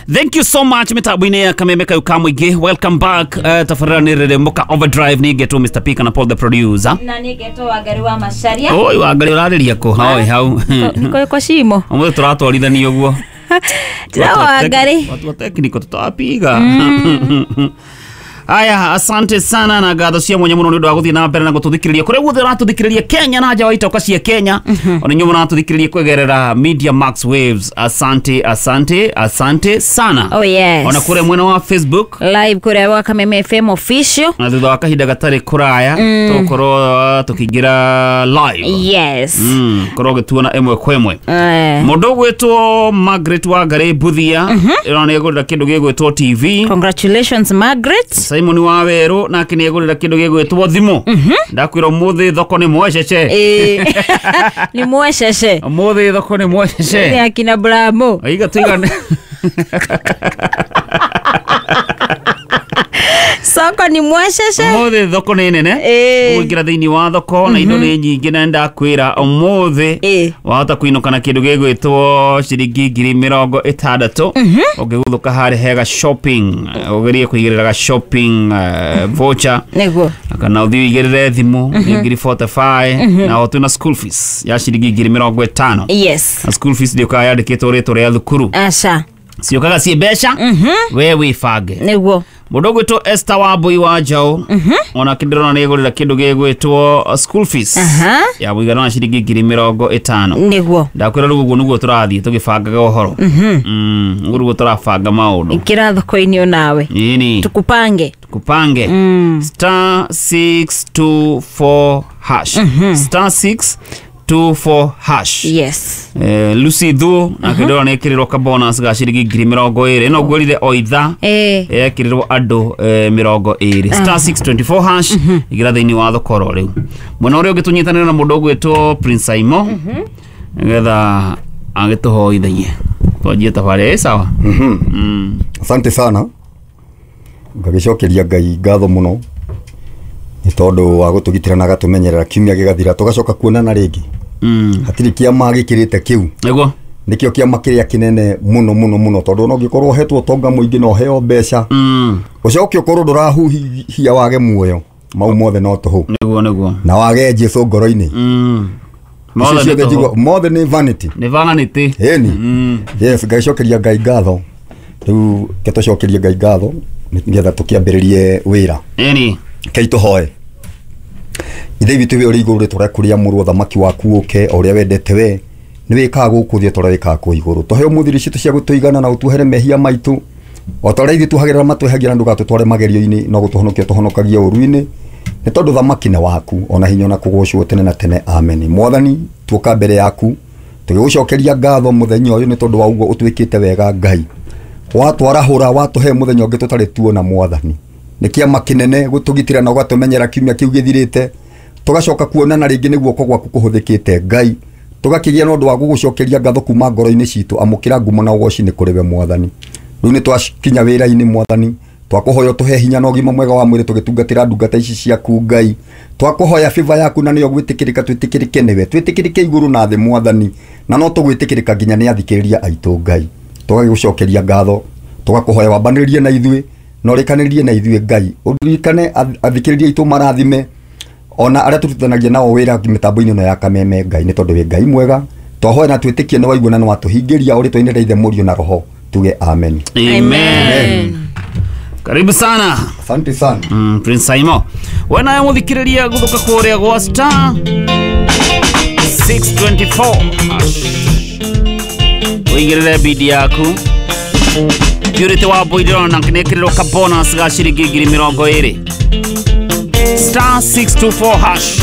Thank you so much mitambo-inĩ ya Kameme kayu ka mũingĩ. Welcome back. Tabarĩra nĩ Rĩrĩmũka Overdrive, nĩ ngetwo Mr. P kana Paul the producer. Na nĩ ngetwo Wangari wa Macharia. Oi Wangari, ũrarĩria kũ? Hoi hau. Niko kwa shimo. Ũmũthĩ tũratwarithania ũguo. Tira Wangari. Watu wa technical tutawapiga. Aya, asante sana na ngatho cia mwanya muno nĩ ũndũ wa gũthiĩ na mbere na gũtũthikĩrĩria kũrĩa guothe ũratũthikĩrĩria Kenya na nja wa itoka cia Kenya, ona inyuĩ mũratũthikĩrĩria kũgerera Media Max Waves. Asante, asante, asante sana. Oh yes. Ona kũrĩa mwena wa Facebook live kũrĩa wa Kameme FM official. Na thutha wa kahinda gatarĩ kũraya tũgũkorwo tũkĩingĩra live. Yes. Korwo ũgĩtuona ĩmwe kwa ĩmwe. Eh, Mũndũ ũgwĩtwo Margaret Wangari Mbuthia ĩno nĩ egũrĩra kĩndũ gĩgwĩtwo TV. Congratulations, Margaret. Simon wa Werũ nake nĩ egũrĩra kĩndũ gĩgwĩtwo thimũ. Ndakwĩra ũmũthĩ thoko nĩ mwecece. Eh. Ni mwecece. Ũmũthĩ thoko nĩ Ni mwecece. akina Bramo. Aiga tuigane. Soko ni mwecece. Ũmũthĩ thoko nĩ nene. Eh. Ũgũingĩra thĩinĩ wa thoko na indo nĩ nyingĩ na ndakwĩra ũmũthĩ Eh. wahota kũinũka na kĩndũ gĩgwĩtwo ciringi 60,000 ũngĩguthũka harĩ hega shopping, ũgerie kũigĩrĩra ga shopping voucher Nĩguo. kana ũthiĩ ũigĩrĩre thimũ nĩ 45,000 na ũtue na school fees ya ciringi 50,000. Yes. Na school fees ndĩũkaga yandĩkĩtwo rĩtwa rĩa thukuru, Asha. ciũkaga ciĩ mbeca we wĩbange. Nĩguo. Mũndũ ũgwĩtwo Esther Wambui wa Njaũ onake ndĩrona nĩ egũrĩra kĩndũ gĩgwĩtwo school fees Aha. ya mũigana wa ciringi 50,000. Nĩguo. Ndakwĩra rĩu ũguo nĩguo tũrathiĩ tũgĩbangaga ũhoro. Ũguo nĩguo tũrabanga maũndũ. Ingĩra thoko-inĩ onawe. Ĩni. Tukupange. Kupange. Star 624 hash. Star 624 hash. Yes. Lucy Thuo nake ndĩrona nĩ ekĩrĩrwo ka bonus ga ciringi 20,000. Ĩno ngwĩrire o ithaa Eh. ekĩrĩrwo andũ 20. Star 624 hash, igĩra thĩinĩ wa thoko oro rĩu. Mwena ũrĩa ũngĩ tũnyitanĩre na mũndũ ũgwĩtwo Prince Aimo nĩgetha agĩtũhoithagie twanjie tabarĩra. Ĩ sawa. Asante sana, ngagĩcokeria Ngai ngatho mũno nĩ tondũ wa gũtũgitĩra na agatũmenyerera kiumia gĩgathira tũgacoka kuonana rĩngĩ. Hatirĩ kĩama gĩkĩrĩte kĩu. Nĩguo. Nĩkĩo kĩama kĩrĩa kĩnene mũno mũno mũno, tondũ ona ũngĩkorwo ũhetwo ũtonga mũingĩ na ũheo mbeca, ũcoke ũkorwo ndũrahuhia wage muoyo, mau mothe no tũhũ. Nĩguo, nĩguo. Na wage Jesũ ngoro-inĩ. Mothe Icio nĩ ciothe tũhũ. njigua mothe nĩ vanity. Nĩ vanity. Ĩni. Yes, ngagĩcokeria Ngai ngatho. Rĩu ke tũcokerie Ngai ngatho nĩgetha tũkĩambĩrĩrie wĩra. Ĩni. Kei tũhoe. Ithe witũ wĩ ũrĩ igũrũ, rĩtwa rĩaku rĩamũrwo, thamaki waku ũke, o ũrĩa wendete we nĩ wĩkaga gũkũ thĩ o ta ũrĩa wĩkaga kũu igũrũ. Tũhe ũmũthĩ irio citũ cia gũtũigana na ũtuohere mehia maitũ o ta ũrĩa ithuĩ tuohagĩrĩra matwehagia, na ndũgatũtware magerio-inĩ no gũtũhonokia tũhonokagie ũru-inĩ, nĩ tondũ thamaki nĩ waku, ona hinya ona kũgocwo tene na tene, amen. Mwathani, tuoka mbere yaku tũgĩgũcokeria ngatho mũthenya ũyũ nĩ tondũ wa ũguo ũtwĩkĩte wega Ngai, watwarahũra watũhe mũthenya ũngĩ tũtarĩ tuona. Mwathani, nĩ kĩama kĩnene gũtũgitĩra na ũgatũmenyera kiumia kĩu gĩthirĩte tũgacoka kuonana rĩngĩ nĩ guoko gwaku kũhũthĩkĩte Ngai, tũgakĩgĩa na ũndũ wa gũgũcokeria ngatho kuma ngoro-inĩ citũ. Amũkĩra ngumo na ũgoci nĩ kũrĩ we Mwathani. Rĩu nĩ twakinya wĩra-inĩ Mwathani, twakũhoya ũtũhe hinya na ũgima mwega wa mwĩrĩ tũgĩtungatĩra ndungata ici ciaku Ngai. Twakũhoya favor yaku na nĩyo gwĩtĩkĩrĩka, twĩtĩkĩrĩke nĩwe, twĩtĩkĩrĩke igũrũ na thĩ Mwathani, na no tũgwĩtĩkĩrĩka nginya nĩ athikĩrĩria aitũ Ngai. Tũgagĩgũcokeria ngatho, tũgakũhoya wambanĩrĩrie na ithuĩ na ũrĩkanĩrĩrie na ithuĩ Ngai, ũririkane athikĩrĩria aitũ, marathime ona arĩa tũrutithanagia nao wĩra mĩtambo-inĩ ĩno ya Kameme Ngai, nĩ tondũ wĩ Ngai mwega. Twahoya na twĩtĩkie nĩ waigua na nĩ watũhingĩria, o rĩtwa-inĩ rĩa Ithe, Mũriũ na Roho tuge amen. Amen. Karibu sana. Asante sana. Prince Saimo we nawe mũthikĩrĩria gũthũka kũrĩa gwa star 624 hash ũigĩrĩre bidi yaku. Purity wa Mbui ndĩrona nĩekĩrĩrwo ka bonus ga ciringi 20,000. Star 624 hash.